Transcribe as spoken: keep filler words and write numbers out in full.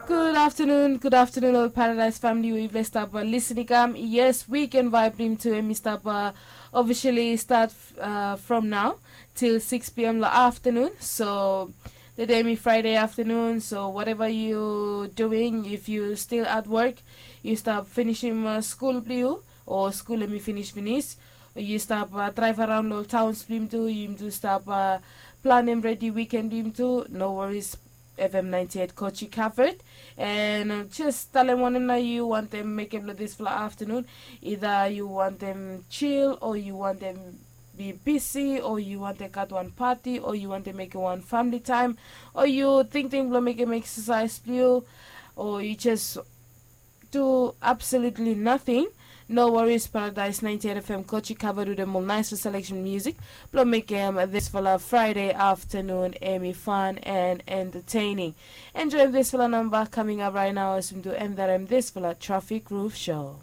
Good afternoon, good afternoon, all Paradise family. We've stop uh, listening. Um, yes, weekend vibe blim to him. Stop uh, officially start uh, from now till six p m the afternoon. So the day me Friday afternoon. So whatever you doing, if you still at work, you stop finishing uh, school blue or school let me finish finish. You stop uh, drive around all towns blim too. You do stop uh, plan him ready weekend blim too. No worries. F M ninety-eight Kochi covered. And uh, just tell them one na you want them make him this for afternoon. Either you want them chill or you want them be busy or you want them cut one party or you want them make one family time or you think them will make him exercise blue or you just do absolutely nothing. No worries, Paradise ninety-eight F M Kochi covered with a more nice selection music. Blo make um, this fella Friday afternoon, Amy fun and entertaining. Enjoy this fella number coming up right now as we do end that um, this fella Traffic Roof Show.